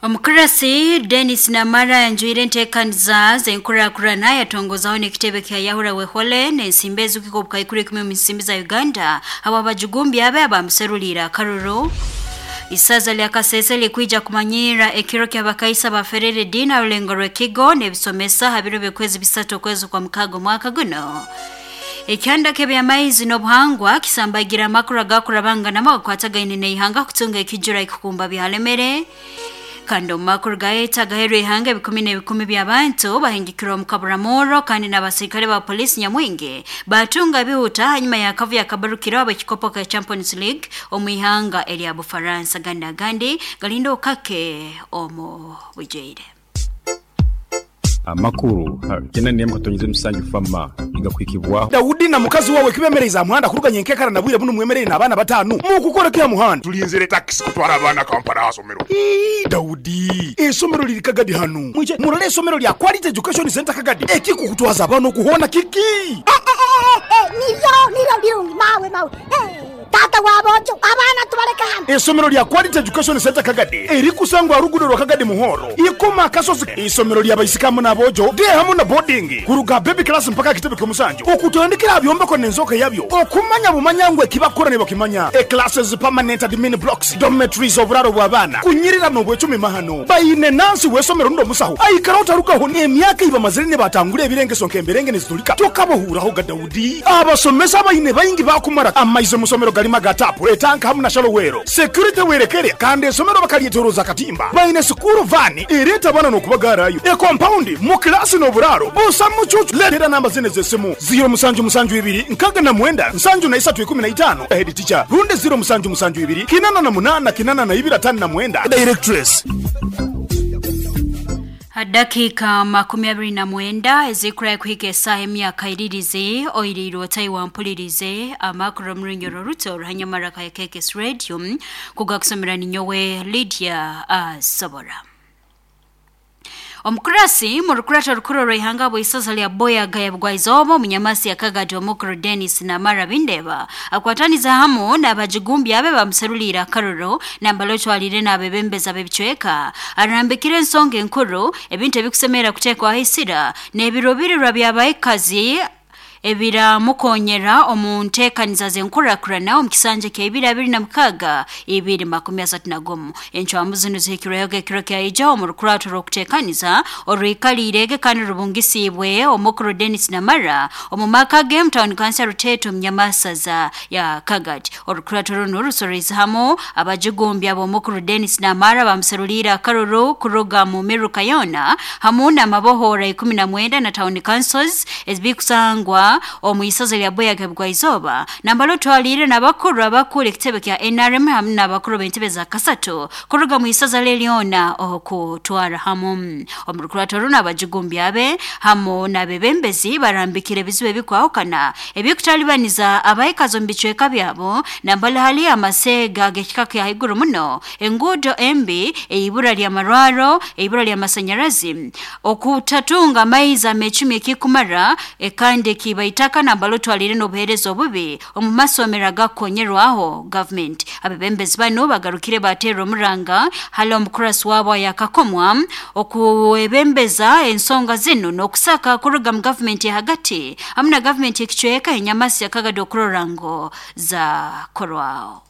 Omukurasi Dennis Namara yanjuire enteekaniza z'enkurakurana, yatongozaho n'ekitebe kya Yahura Wehole n'ensimbi ezikika obukaikuru 10 omu nsimbi za Uganda habw'abajugumbi abe abamuseruliire akaruru. Isaza lya Kasese likwija kumanyirra ekiro ky'abakaisa baferere ediini ha rulengo rw'ekigo n'ebisomesa ha biro by'okwezi 3 okwezi kwa 6 omwaka guno. Ekyanda ky'ebyamaizi n'obuhangwa kisambagira amakuru agakurabanganamu agakwatagaine n'ihanga kutunga ekijura ekukumba byalemere. Kandi omu makuru gaeta agaherwa ihanga, ebikumi n'ebikumi by'abantu bahingikirwe omu kaburamurro, kandi n'abasirikale ba polisi nyamwingi batunga bihuta hanyuma y'akavuyo akabarukiraho ab'ekikopo ka Champions League omu ihanga erya Bufaransa. Gandi agandi galinda okake omu bujwaire. Amakuru ha 97 Fama nigakuhikibwaho. Daudi na mukazi wawe kibemereize aha muhanda kuruga nyenkekara na bwire bunu mwemereire n'abaana bataanu. Mukukora ki aha muhanda? Tulinzire takisi kutwara abaana Kampala aha somero. Ii, Daudi, eisomero liri Kagadi hanu. Mwije murole eisomero lya Quality Education Centre Kagadi. Ekikukutwaza abaana oku hoona kiki? Nibyo, nibyo birungi, mawe, mawe. Taata w'aboojo, abaana tubaleke hano. Eisomero lya Quality Education Centre Kagadi erikusangwa aha ruguudo rwa Kagadi Muhoro, Ikoma Akasozi. Eisomero lya baisiki hamu n'aboojo, day hamu na boarding, kuruga aha baby class mpaka aha kitebe ky'omusanju, okutandikira aha byombeko n'enzooka yabyo, okumanya bumanya ngu ekibakukora nibakimanya. E classes, permanent admin blocks, dormitories, oburaaro bw'abaana, kunyirira n'obwecumi mahano. Baine nansi w'eisomero rundi omusaho aikaraho tarugaho n'emyaka ei bamazire nibatangura ebirengeso nk'emberenge nizitulika. Tokabahuuraho ga Daudi. Abasomesa abaine baingi bakumara amaizi omu somero garimu aga taapu, etanka hamu na shalowero. Security werekere kandi esomero bakaryetoroza akatimba. Baine sukuru van ereeta abaana n'okubagaarayo. E compound, mu kilaasi n'oburaaro busa mucucu. Leetera namba zinu ez'esimu, 0 musanju musanju ibiri nkaga na mwenda nsanju na isatu ikumi na itaano, head teacher, rundi 0 musanju musanju ibiri kinana na munaana kinana na ibiri atano na mwenda, directress. Ha dakiika 29 ezikurayo kuhika esaaha emyaka iririze oiriirwe otayi wampulirize amakuru omu runyoro ruto ruhanyamara ka KKS Radio kugakusomera ninyowe Lydia Asobora. Omukurasi mu rukurato rukuru rw'ihanga bw'isaza lya Boyaga ya Bugwaizooba, omunyamasi yakagati omukuru Dennis Namara Bindeba akwataniza hamu n'abajigumbi abe bamuseruliire akaruru nambala otwalire n'abebembeza b'ebicweka arambikire ensonga enkuru ebintu ebikusemera kuteekwaho isira n'ebiruubirirwa by'abaikazi ebiramukonyera omu nteekaniza z'enkurakurana omu kisanja kya 2026 2031. Encwamu zinu zihikirweho ekiro kyaija omu rukurato rw'okuteekaniza orwikaliirege kandi rubungisiibwe omukuru Dennis Namara omu maka ge mu tawuni kansa Ruteto omu Nyamasaza ya Kagati. Orukurato runu rusorreize hamu abajugumbi ab'omukuru Dennis Namara bamuseruliire akaruru kuruga mu miruka yoona hamu n'amabohora 19 na tawuni councils ezibikusangwa omu isaza lya Boyaga Bugwaizooba, nambala otwaliire n'abakuru abakuru ekitebe kya NRM hamu n'abakuru b'entebe za kasatu kuruga mu isaza lyona okutwara hamu. Omu rukurato runo abajugumbi abe hamu n'abebembezi barambikire ebizibu ebikwahukana ebikutalibaniza abaikazi omu bicweka byabo, nambala hali amaseega ag'ekika kya haiguru muno, enguudo embi, eibura ly'amarwaro, eibura ly'amasanyarazi, okutatunga amaizi amecumi ekikumara, kandi ekibaitaka nambala otwalire n'obuheereza obubi omu masomero agakukonyerwaho gavumenti. Abebembezi banu bagarukire bateerwa omuranga hali omukurasi waabo ayakakomwa okuwebembeza ensonga zinu n'okusaka kuruga mu gavumenti ehagati hamu na gavumenti ekicweka enyamasi yakagadi okurora ngu zakorwaho.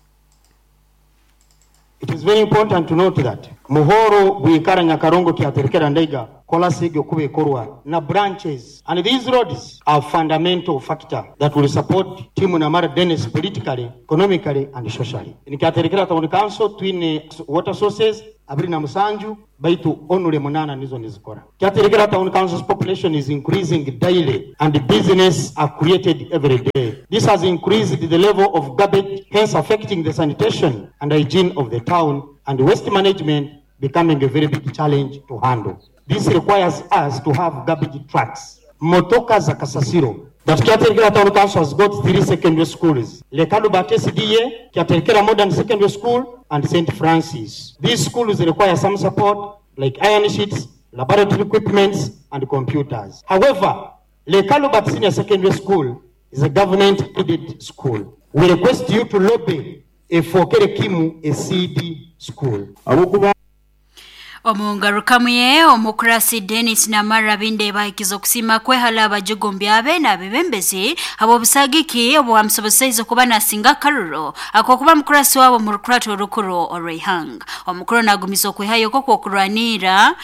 It is very important to note that Muhoro, Bwikara, Nyakarongo, Kyaterekera, Ndeiga, Kolasig, Okube, Korwa, na branches. And these roads are fundamental factor that will support Team Namara Dennis politically, economically, and socially. In Kyaterekera Town Council, twine water sources, abiri na musanju, baitu onule munana nizo nizikora. Kyaterekera Town Council's population is increasing daily and business are created every day. This has increased the level of garbage, hence affecting the sanitation and hygiene of the town, and waste management becoming a very big challenge to handle. This requires us to have garbage trucks. Motoka za kasasiro. That Kyaterekera Town Council has got 3 secondary schools. Lekalubat SDA, Kyaterekera Modern Secondary School, and St. Francis. These schools require some support like iron sheets, laboratory equipments, and computers. However, Lekalubat Senior Secondary School is a government-aided school. We request you to lobby a Fokere Kimu, a CD school. Omungarukamu ye omukurasi Dennis Namara Bindeba ahikiza okusima kwehala abajugumbi abe n'abebembezi habw'obusagiki obwamusoboseize kuba nasinga akaruro akokuba mukurasi wabo mu rukurato orukuru orw'eihanga. Omukuru nagumiza okwihayo kwo okurwanira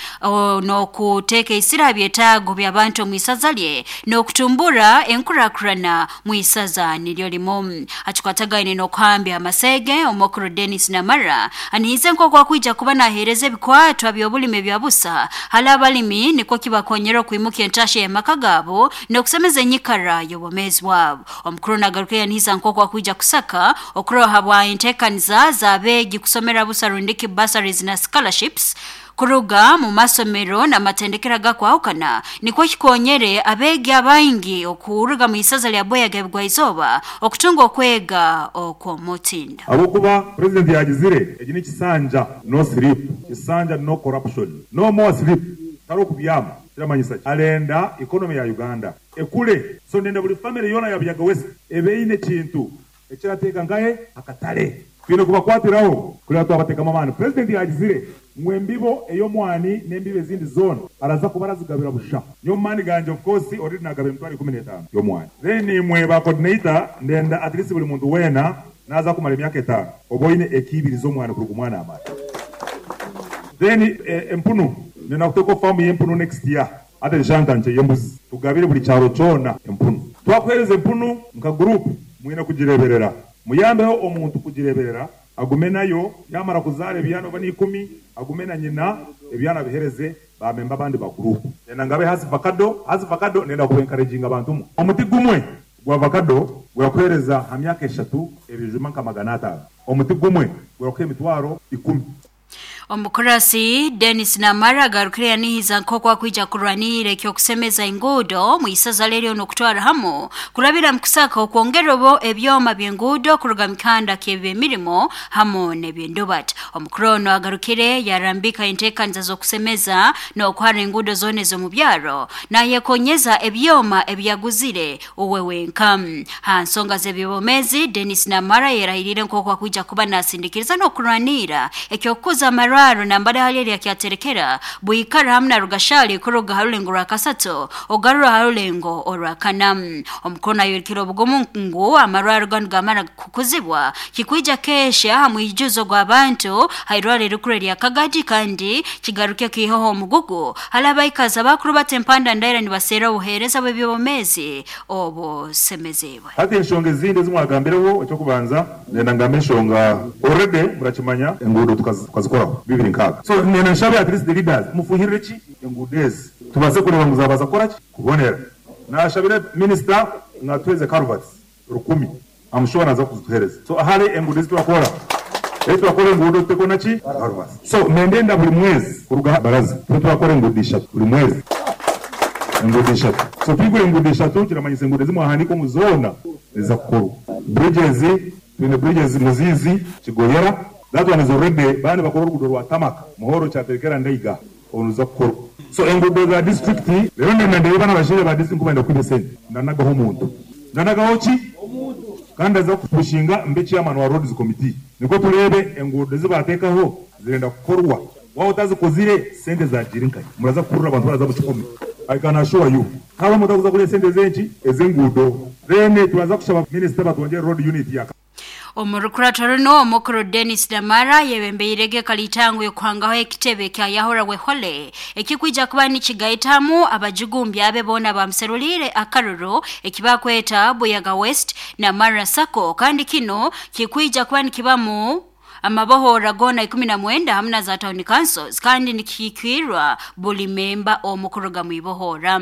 n'okuteeka isira byetaago by'abantu omu isaza lye n'okutumbura enkurakurana mu isaza niryo limu. Akikwatagaine n'okuhambya amasege omukuru Dennis Namara anihize nk'oku akwija kuba naheereza ebikwatwa by'obulimi bya busa hali abalimi nikwo kibakonyera okwimuka entasha y'amaka gaabo n'okusemeza enyikara y'obwomeezi bwabo. Omukuru nagaruka yanihiza nk'oku akwija kusaka okuroha bwa enteekaniza z'abeegi kusomera busa rundiki bursaries na scholarships kuruga mu masomero n'amatendekero agakwahukana nikwo kikonyere abeegi abaingi okuruga mu isaza lya Boyaga ebigwa-izooba okutunga okwega okw'omutindo. Ahabw'okuba president yagizire egi ni kisanja no sleep, kisanja no corruption, no more sleep, tari kubyama kiramanyisa ki? Arenda economy ya Uganda ekure, so ndenda buri family yoona ya Buyaga West ebe eine ekintu ekirateeka nkahe akatare. Twine kubakwatiraho kureba twabatekamu amaani. President yagizire ngu embibo ey'omwani n'embibo ezindi zoona araza kuba arazigabira busha. Nyowe omu maani gangye of course already nagaba emitwaro 15 y'omwani. Then imwe ba coordinator ndenda at least buri muntu weena naza kumara emyaka 5 oba oine eka 2 z'omwani kuruga omwana amara. Then empunu ndenda kuteeka famu y'empunu next year. Ate nshanta nkye y'embuzi tugabire buri kyaro kyona empunu. Twakuheereza empunu nka group mwine kugireberera. Muyambeho omuntu kugireberera agume nayo yamara kuzaara ebyana oba ni 10 agume na nyina ebyana bihereze bamemba abandi ba group. Nenda ngabe hasi avocado nenda kuba encouraging abantu mu. Omuti gumwe gwa avocado gurakuhereza ha myaka 3 ebijuma nka 500. Omuti gumwe gurakuha emitwaro 10. Omukurasi Dennis Namara agarukire yanihiza nk'oku akwija kurwanira ekyokusemeza enguudo mu isaza leryo n'okutwara hamu kurabira mu kusaka okwongera obo ebyoma by'enguudo kuruga mu kihanda ky'ebyemirimo hamu n'ebyendubat. Omukuru ono agarukire yarambika enteekaniza z'okusemeza n'okuhara enguudo zoona ez'omu byaro nayekonyeza ebyoma ebyaguzire uwe wenka. Ha nsonga z'ebyobomezi Dennis Namara yerahirire nk'oku akwija kuba nasindikiriza n'okurwanira ekyokukuza amarwaro nambale hali erya kyaterekera bwikara hamwe na Rugashali kuruga harulengo rwa kasato ogarura harulengo orwa kana. Omukuru nayorekera obugumu ngu amarwaro ganu gamara kukuzibwa kikwija kesha hamwe ijuzo gw'abantu hairwaro erikuru erya Kagadi kandi kigaruke kihoho omugugu hali abaikazi bakuru batempanda ndaira nibaseera obuheereza bw'ebyobomezi obusemezibwe. Hati enshonga ezindi ezimwagambireho ekyokubanza nenda ngambe enshonga already murakimanya enguudo tukazikoraho 26. So nenda nshabe at least the leaders mufuhirire ki enguudo ezi tubaze kureba ngu zabaza kukora ki kubonera. Nashabire minister natuheze culverts 1000 I'm sure naza kuzituhereza. So ahari enguudo ezi turakora turakora enguudo tutekona ki culverts. So nendenda buri mwezi kuruga baraza turakora enguudo 3 buri mwezi enguudo 3. So twigure enguudo 3 kiramanyisa enguudo zimwahandika omu zona ziza kukorwa. Bridges twine bridges Muzizi Kigoyera that one is already bani bakora oruguudo rwa Tamaka Muhoro kyaterekera Ndeiga oruza kukorwa. So enguudo za district rero ndenda ndeba n'abashaija ba district kubenda kwiba esente ndanagaho omuntu ndanagaho ki kandi aza kupushinga mbe chairman wa roads committee niko turebe enguudo zibatekaho zirenda kukorwa waba utazikozire sente zagira inkayi muraza kukurura abantu baraza bukikumi. I can assure you haba mutakuza kuri sente zenki ezenguudo then turaza kushaba minister batwongere road unit ya Omurukurato runo omukuru Dennis Namara yebembeirege kalitangu yokuhangaho ekitebe kya Yahora Wehole ekikwija kuba nikigaitamu abajugumbi abe bona bamuserulire akaruro ekibakweta Buyaga West na Mara Sako kandi kino kikwija kuba nikibamu amabohora gona 19 hamwe na za town councils kandi nikikirwa buli memba omukuru mwibohora.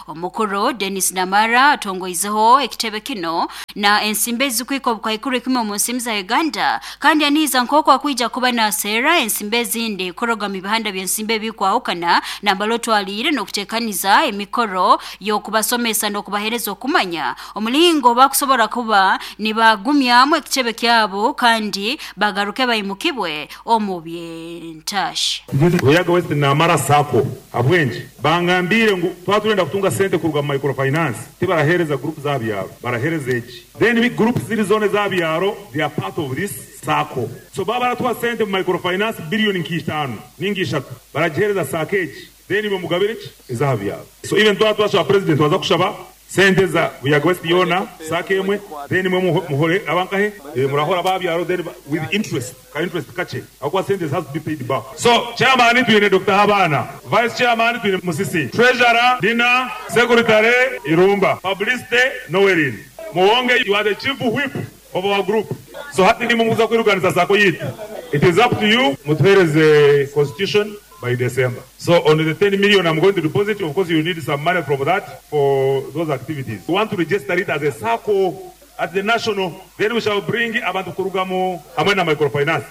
Omukuru Dennis Namara atongoizeho ekitebe kino na ensimbe zikwiko bukaikuru 10 mu nsimu za Uganda kandi aniza nkoko akwija kuba na sera ensimbe zindi kuroga mibihanda by'ensimbe bikwahukana na balotwalire n'okutekaniza emikoro y'okubasomesa n'okubahereza okumanya omulingo bakusobora kuba nibagumyamu ekitebe kyabo kandi bagaruke Baimukibwe omu byentashi. Buyaga West Namara Sacco abwenji bangambire ngu twatulenda kutunga sente kuruga mu microfinance tibarahereza group za byaro, barahereza eki, then big group ziri zone za byaro, they are part of this Sacco. So baba baratwa sente mu microfinance billion nk'itanu ningi ishatu, baragihereza Sacco eki, then bamugabire ki eza byaro. So even twatwasha president waza kushaba sente za Buyaga West yona Sacco emwe, then mwe muhore abankahe murahora babyaro, then with interest ka interest kache akwa sente has to be paid back. So chairman twine Dr. Habana, vice chairman twine Musisi, treasurer Dina, secretary Irumba, publicity Noelin Muwonge, you are the chief whip of our group. So hati ni munguza kwirukanisa Sacco yitu, it is up to you mutuhereze constitution by December. So on the 10 million I'm going to deposit, of course you need some money from that for those activities. We want to register it as a Sacco at the national, then we shall bring abantu kurugamo hamwe na microfinance.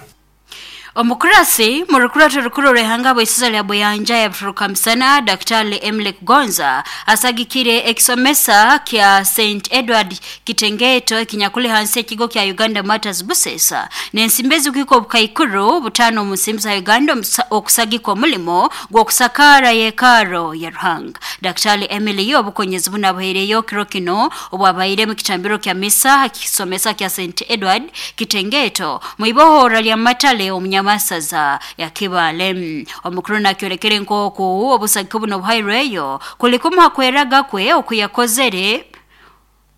Omukurasi murukurato rukuru rehanga bwisiza lya Buyanja ya Buturuka Misana Daktari Emily Gonza asagikire ekisomesa kya St Edward Kitengeto kinyakule hansi ekigo kya Uganda Matters Busesa nensimbezi kwiko bukaikuru butano musimza Uganda okusagikwa mulimo gwokusakara yekaro ya Ruhanga. Daktari Emily obukonyezi bunabuhereyo kiro kino obwabaire mu kitambiro kya misa kisomesa kya St Edward Kitengeto muibohora lya Matale omunyama masaza ya Kibale. Omukuru nakyolekere nkoku obusagiko buno buhaireyo kulikuma hakweraga kwe okuyakozere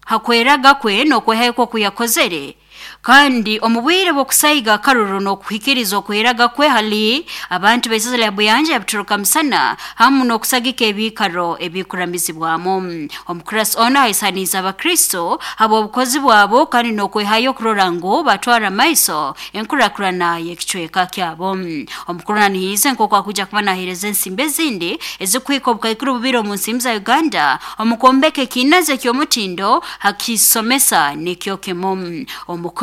hakweraga kwe nokweheko kuyakozere kandi omubwire bwokusaiga karuru nokuhikiriza okweraga kwe hali abantu b'eisaza lya Buyanja Buturuka Misana hamu nokusagika ebikaro ebikuramizibwamu. Omukurasi ona aisaniza abakristo abo obukozi bwabo kandi nokwehayo kurora ngu batwara maiso enkurakurana y'ekicweka kyabo. Omukuru nanihize nk'oku akuja kuba nahereza ensimbi ezindi ezikwika obukaikuru bubiri omu nsimbi za Uganda omukombeke kinaze ky'omutindo hakisomesa nikyo kimu. Omukuru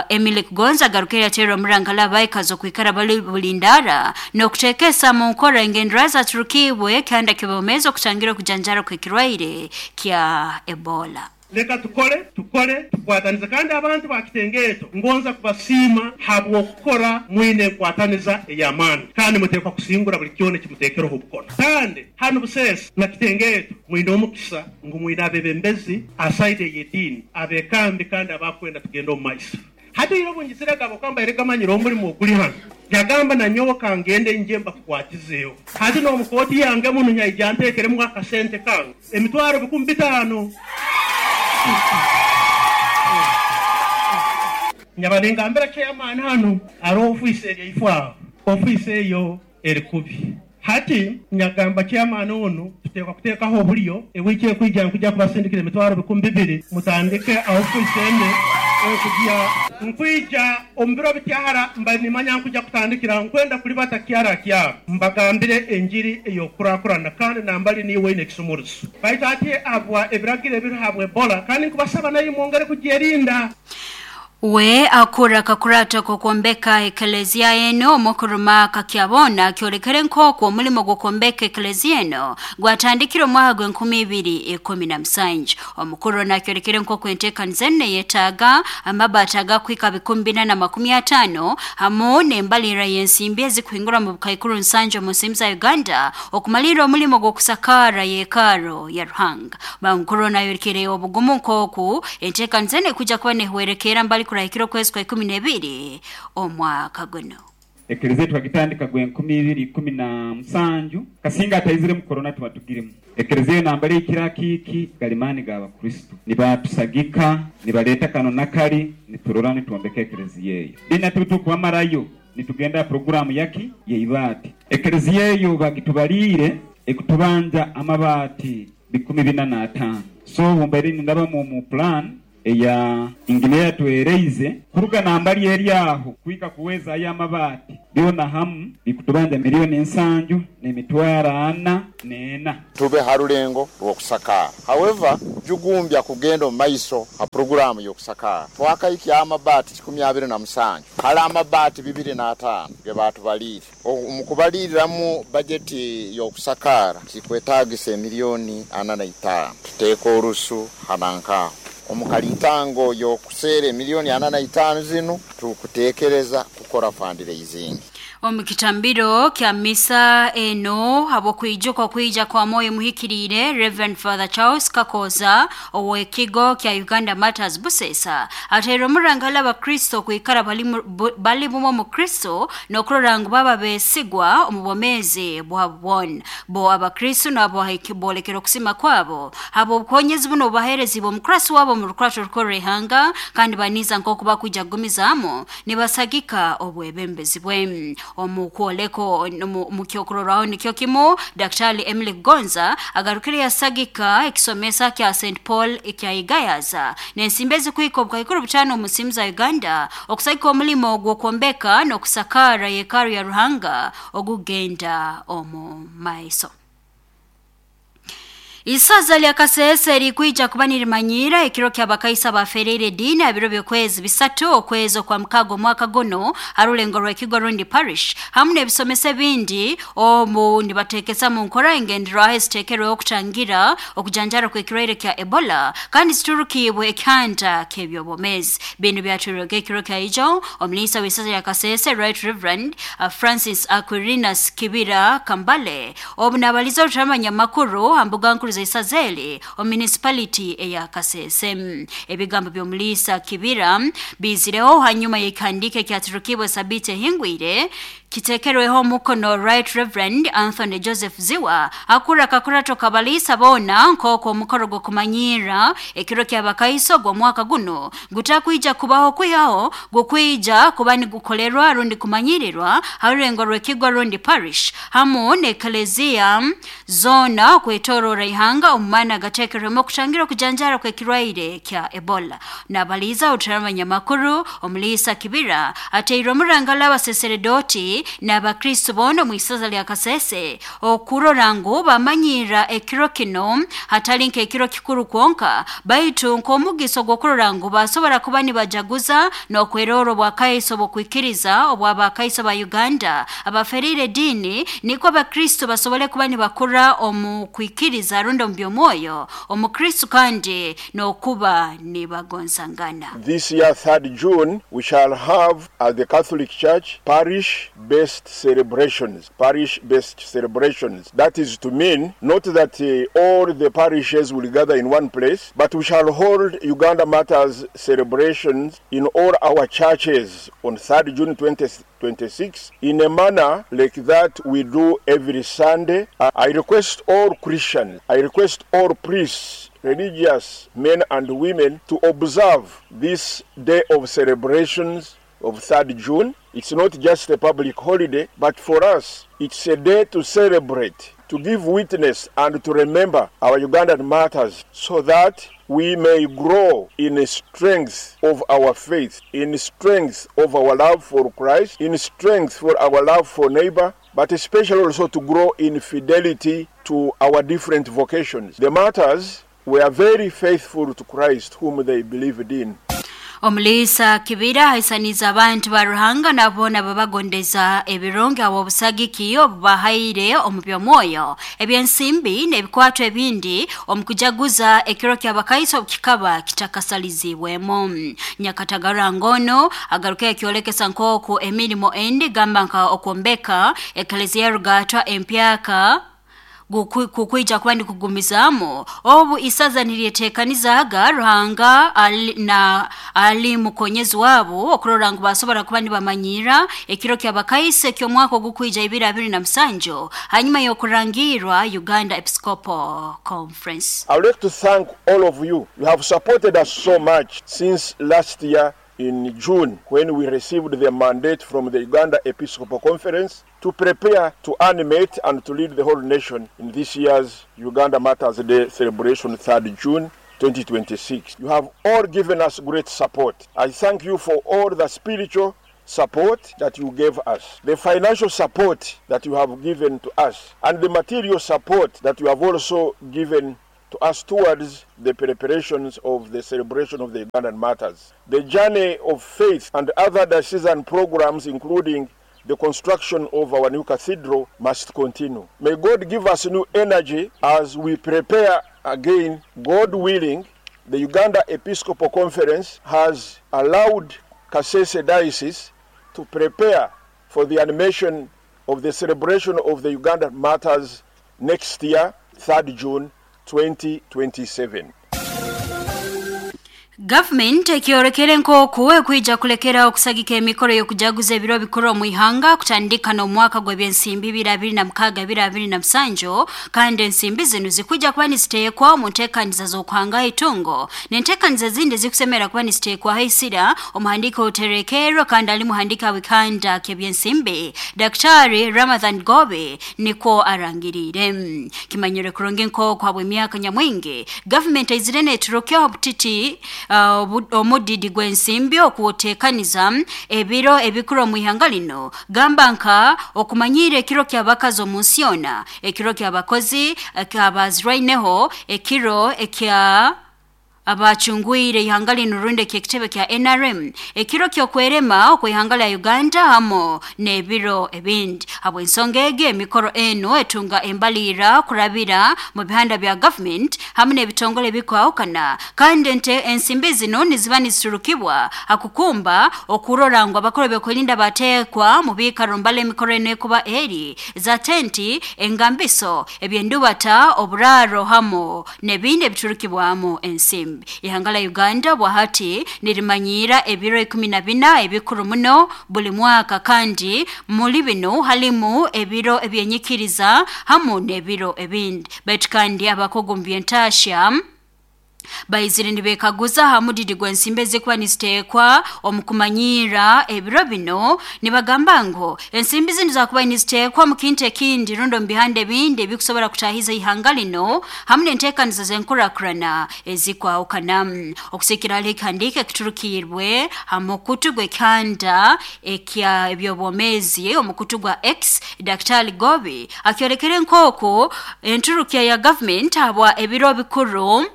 Emily Kugonza garukira tero murangala baikazo kwikara bali bulindara nokutekesa mu nkora engendera za Turkibwe kandi kibomezo kutangira kujanjara kwekirwaire kya Ebola. Leka tukole tukwataniza kandi abantu ba Kitengeto ngonza kubasiima habwokukora mwine nkwataniza ey'amaani kandi muteekwa kusingura buli kyona kimuteekereho obukona. Kandi hano Busesa na Kitengeto mwine omukisa ngu mwine abebembezi asaide ey'ediini abekambi kandi abakwenda tugenda omu maiso. Hati iro bunjiziraga bokamba eregamanyira omulimo oguli hano yagamba nanyowe kangende nje mbakukwatizeyo. Hati n'omukooti yange muno nyaija nteekeremu akasente kange emitwaro 5,000. Nyabalengambira chairman hano ari office eryifwa office eyo erikubi. Hati nyagamba chairman ono tuteekwa kuteekaho obulyo ewiki ekwijja nkujja kubasindikira emitwaro 2,000 mutandike office ende okujja nkwija omu biro bityahara mba nimanya nkujja kutandikira nkwenda kulibata kyara kyaro mbagambire enjiri ey'okukurakurana kandi nambali niwe ine ekisumurizo baitu ati abwa ebiragiro ebirihabwa Ebola kandi nkubasaba naye mwongere kugyerinda. We akura kakurata kukombeka eklezia eno omukuruma kakyabona kyolekere nkoko omulimo gwokombeka eklezia eno gwatandikira omwaka gwe 2017. Omukuru nakyolekere nkoko enteekaniza ene yetaaga amabaati agakwika 450 hamu n'embalira y'ensimbi ezikuhingura mu bukaikuru nsanju mu nsimbi za Uganda okumalira omulimo gw'okusakara yekaro ya Ruhanga. Omukuru nayolekere obugumu nkoku enteekaniza ene kuja kuba nehwerekera mbali kurahikiro kwezi kwa 12 omwaka guno. Eklezia twagitandika gwe 2017 kasinga ataizire mu corona tubatugiremu. Eklezia nambali ikira kiki galimani ga Bakristo nibatusagika nibaleta kano nakali niturora nituombeka eklezia eyo dina tutukwamarayo nitugenda programu yaki yeibati. Eklezia eyo bagitubalire ekutubanja amabati 45. So mbere ndaba mu plan eya ingineya tuereize kuruga nambali eryaho kuika kuweza aya mabati byona hamu bikutubanja 704 500,000 tube harulengo rwokusakara. However, jugumbya kugenda maiso ha programu yokusakara twakaiki amabati 27 kala amabati 25 ge batubalire omukubaliriramu bajeti yokusakara kikwetagisa 45 tuteeka orusu hanankaho. Omu kalitango y'okuseera emiliyoni 45 zinu tukuteekereza kukora fundraising. Omu kitambiro kya misa eno habw'okwijuka okwija kwa mwoyo muhikiriire, Reverend Father Charles Kakoza ow'ekigo kya Uganda Martyrs Busesa ateire omurangala abakristo okwikara bali bumwe omu Kristo n'okurora ngu baba beesigwa omu bwomeezi bwabo bwona. Bo abakristo nabo boolekera okusima kwabo habw'obukonyezi buno obubaheerezibwe omukurasi wabo omu rukurato rukorra ihanga, kandi baniiza nk'oku bakwija kugumizaamu nibasagika obwebembezi bwe. Omu kwoleko mu kyokurorraho nikyo kimu, Daktari Emily Gonza agarukire yasagika ekisomesa kya St Paul ekya Igayaza n'ensimbi ezikuhika obukaikuru 5 omu nsimu za Uganda okusagika omulimo gw'okwombeka n'okusakaara yekaru ya Ruhanga ogugenda omu maiso. Isaza lya Kasese likwija kuba nirimanyiira ekiro ky'abakaisa bafereire ediini abiro by'okwezi 3 okwezi okwa mukago omwaka guno harulengo rw'ekigo rundi parish hamu n'ebisomesa ebindi omu nibateekesa mu nkora engenderwaho eziteekerweho okutangira okujanjara kw'ekirwaire kya Ebola kandi ziturukiibwe ekihanda ky'ebyobwomeezi. Binu byatwirwege ekiro kya ijo omuliisa w'isaza lya Kasese Right Reverend Francis Aquilinus Kibira Kambale obu nabaliza orutamanya makuru ha mbuga nkuru Isazeli o municipality eya Kasese. Ebigambo by'omuliisa Kibira bizireho hanyuma y'ekihandiiko ekyaturukibwe Sabiti ehingwire kitekerweho omukono Right Reverend Anthony Joseph Ziwa akura kakurato kabalisa bona nk'oko omukoro gw'okumanyiira ekiro ky'abakaiso gw'omwaka guno gutakwija kubaho kwihaho gukwija kuba nigukolerwa rundi kumanyirirwa harurengo rw'ekigo rundi parish hamu n'eklezia zona okwetorora ihanga omu maana gateekerwemu okutangira okujanjara kw'ekirwaire kya Ebola. Nabaliza oturamanya makuru omuliisa Kibira ateirwe omurangala abaseseredoti n'abakristo boona omu isaza lya Kasese okurora ngu bamanyira ekiro kino hatali nk'ekiro kikuru kwonka baitu nk'omugiso gw'okurora ngu basobora kuba nibajaguza n'okwerora obwakaiso bw'okwikiriza obw'abakaiso ba Uganda abafereire ediini nikwo abakristo basobole kuba nibakura omu kwikiriza rundi omu by'omwoyo omukristo kandi n'okuba nibagonzangana. This year, 3rd June, we shall have at the Catholic Church parish-based celebrations. Parish-based celebrations. That is to mean not that all the parishes will gather in one place, but we shall hold Uganda Matters celebrations in all our churches on 3rd June 2026 in a manner like that we do every Sunday. I request all Christians, I request all priests, religious men and women to observe this day of celebrations of 3rd June. It's not just a public holiday, but for us, it's a day to celebrate, to give witness and to remember our Ugandan martyrs so that we may grow in the strength of our faith, in strength of our love for Christ, in strength for our love for neighbor, but especially also to grow in fidelity to our different vocations. The martyrs were very faithful to Christ whom they believed in. Omuliisa Kibira haisaniza abantu ba Ruhanga nabona babagondeza ebirungi abo obusagiki obubahaire omu by'omwoyo ebyensimbi n'ebikwato ebindi omu kujaguza ekiro ky'abakaiso kikaba kitakasalizibwemu. Nyakatagara ngono agaruka ekyolekesa nk'oku emirimo endi gamba nka okwombeka eklezia rugatwa empyaka kukwija kuba ndikugumizamu obu isaza niryeteekanizaga Ruhanga na ali mukonyezi wabo okurora ngu basobora kuba nibamanyira ekiro ky'abakaise ky'omwaka ogukwija 2027 hanyuma y'okurangirwa Uganda Episcopal Conference. I would like to thank all of you. You have supported us so much since last year in June when we received the mandate from the Uganda Episcopal Conference to prepare to animate and to lead the whole nation in this year's Uganda Martyrs Day celebration, 3rd June 2026. You have all given us great support. I thank you for all the spiritual support that you gave us, the financial support that you have given to us, and the material support that you have also given to us towards the preparations of the celebration of the Ugandan Martyrs. The journey of faith and other diocesan programs, including the construction of our new cathedral, must continue. May God give us new energy as we prepare again, God willing, The Uganda Episcopal Conference has allowed Kasese Diocese to prepare for the animation of the celebration of the Uganda Martyrs next year, 3rd June 2027. Government ekyorekere nk'oku ekwija kulekera okusagika emikoro y'okujaguza ebiro bikuru omu ihanga kutandika n'omwaka gw'ebyensimbi 2026-2027, kandi ensimbi zinu zikwijja kuba niziteekwa omu nteekaniza z'okuhanga itungo n'enteekaniza ezindi zikusemera kuba niziteekwaho isira. Omuhandiika oterekerwa kandi ali muhandiika w'ekanda ky'ebyensimbi Daktari Ramadhan Gobe nikwo arangiriire. Kimanyire kurungi nk'oku habw'emyaka nyamwingi government aizire neeturukya obutiti omudidi gw'ensimbi okuteekaniza ebiro ebikuru omu ihanga lino, gamba nka okumanyira ekiro ky'abakazi omu nsi yoona, ekiro ky'abakozi ekyabazirwaineho, ekiro ekya abacungwire ihanga lino rundi eky'ekitebe kya NRM, ekiro ky'okwerema okw'ihanga lya Uganda hamo n'ebiro ebindi. Habw'ensonga egi emikoro eno etunga embalira kurabira mu bihanda bya government hamu n'ebitongole ebikwahukana, kandi ensimbi zino niziba niziturukibwa hakukumba okurora ngu abakuru b'okwerinda bateekwa mu biikaro mbala emikoro eno ekuba eri za tenti, engambiso, ebyendubata, oburaaro hamo n'ebindi ebiturukibwamu ensimbi. Ihanga la Uganda bwahati nirimanyiira ebiro 14 ebikuru muno buli mwaka, kandi muri bino halimu ebiro ebyenyikiriza hamu n'ebiro ebindi. Baitu kandi abakugu mu by'entaasya baizire nibekaguza ha mudidi gw'ensimbi ezikuba niziteekwa omu kumanyiira ebiro bino, nibagamba ngu ensimbi zinu zakuba niziteekwa mu kintu ekindi rundi omu bihanda ebindi ebikusobora kutahiza ihanga lino hamu n'enteekaniza z'enkurakurana ezikwahukana. Okusikira hali ekihandiiko ekiturukiirwe ha mukutu gw'ekihanda ekya eby'obwomeezi omukutu gwa X, Daktari Gobi akyorekere nk'oku enturukya ya government habwa ebiro bikuru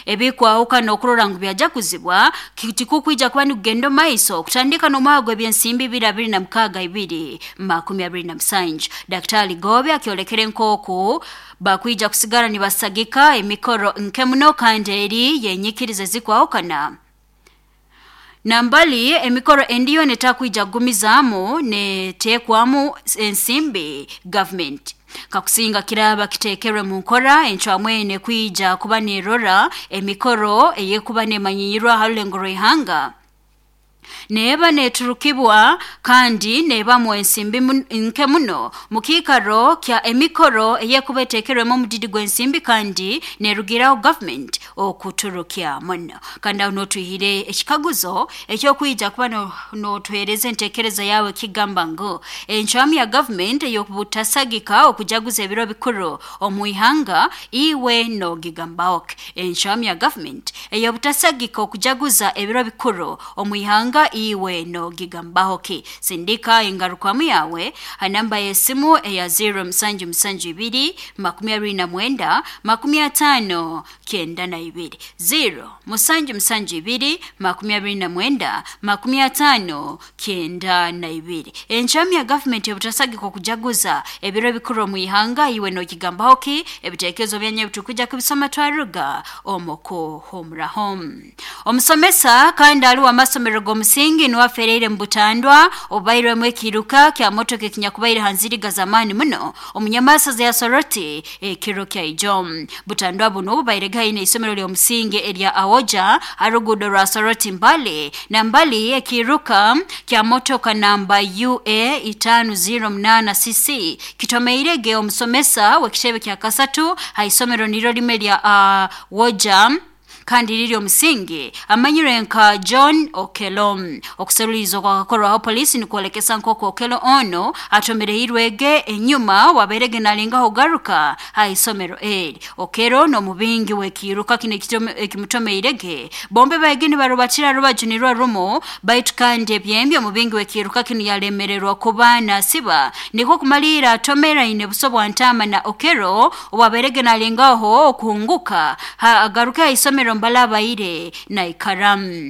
ebikwahukana okurora ngu byajakuzibwa tikukwija kuba nikugenda omu maiso kutandika n'omwaka gw'ebyensimbi 2026-2027. Daktari Gobe akyolekere nk'oku bakwija kusigara nibasagika emikoro nke muno kandi eri yenyikiriza ezikwahukana. Nambali emikoro endiyo netakwija kugumizaamu neteekwamu ensimbi government. Kakusinga kiraba kiteekerwe mu nkora encwamu ene kwija kuba nerora emikoro eyekuba nemanyiirwa ha rulengo rw'ihanga neeba neturukibwa kandi neebamu ensimbi nke muno mu kiikaro kya emikoro eyekuba eteekerwemu omudidi gw'ensimbi kandi nerugiraho government okuturukya muno. Kandi aho n'otwihire ekikaguzo ekyokwija kuba n'otuheereza enteekereza yawe kigamba ngu encwamu ya government ey'obutasagika okujaguza ebiro bikuru omu ihanga iwe n'ogigambaho ki? Encwamu ya government ey'obutasagika okujaguza ebiro bikuru omu ihanga iwe n'ogigambaho ki? Sindika engarukwamu yawe ha namba y'esimu eya 0772 29 50 92, 0772 29 50 92. Encwamu ya government y'obutasagika okujaguza ebiro bikuru omu ihanga iwe n'ogigambaho ki? Ebiteekerezo byanyu ebitukuja kubisoma twaruga omu kuhumuraho. Omusomesa kandi ali w'amasomero g'omusingi niwe afereire mu butandwa obubairwemu ekiruka kya motoka ekinyakubaire ha nziriga z'amaani muno omunyamasaza ya Soroti ekiro kya ijo. Butandwa buno bubaire gaine isomero ly'omusingi erya Awoja ha ruguudo rwa Soroti Mbale, na mbali ekiruka kya motoka namba UA 508 CC kitomeirege omusomesa w'ekitebe kya kasatu ha isomero niryo limwe lya Awoja kandi riri omusingi amanyirwe nka John Okello. Okuseruliza kwakakorwaho polisi nikwolekesa nk'oku Okello ono atomereirwege enyuma waberege nalengaho kugaruka ha isomero eri. Okello n'omubingi w'ekiruka kino ekimutomeirege bombe baege nibarubatira rubaju nirwo rumu, baitu kandi ebyembi omubingi w'ekiruka kino yalemererwa kuba nasiba nikwo kumaliira atomeraine buso bwa ntaama na Okello owaberege nalengaho okuhunguka agaruke ha isomero mbalabaire naikaramu.